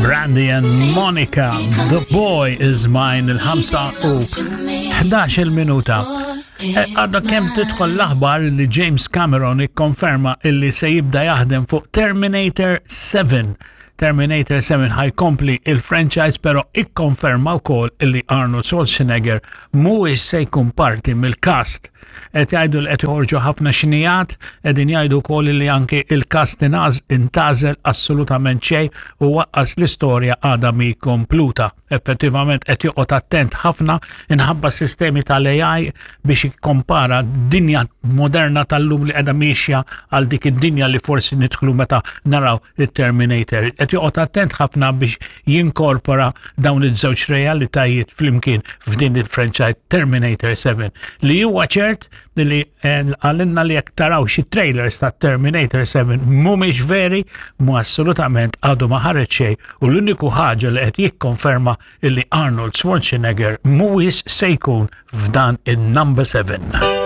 Brandy and Monica, The Boy Is Mine, il-5 u 11 minuta. Eh, għadha kemm tidħol l-aħbar li James Cameron ikkonferma illi se jibda jaħdem fuq Terminator 7. Terminator 7 ħajkompli il-franchise pero ikkonferma wkoll illi Arnold Schwarzenegger mhuwiex se jkun parti mill-cast. Qed jgħidu li qed joħorġu ħafna xnijat, qegħdin jgħidu wkoll li anke il-cast intażel assolutament xejn u waqqas l-istorja għadha mi kompluta. Effettivament qed joqgħod attent ħafna inħabba sistemi tal-AI biex jikkompara dinja moderna tal-lum li qiegħda miexja għal dik id-dinja li forsi nidħlu meta naraw it-Terminator. Qed joqgħod attent ħafna biex jinkorpora dawn iż-żewġ realitajiet flimkien f'din il-franchise Terminator 7 li huwa ċert li eh, għalinna li jekk taraw xi trailers ta' Terminator 7 mhumiex veri, mu assolutament għadu ma ħareġ xejn u l-uniku ħaġa li qed jikkonferma illi Arnold Schwarzenegger mhuwiex se jkun f'dan in-number 7.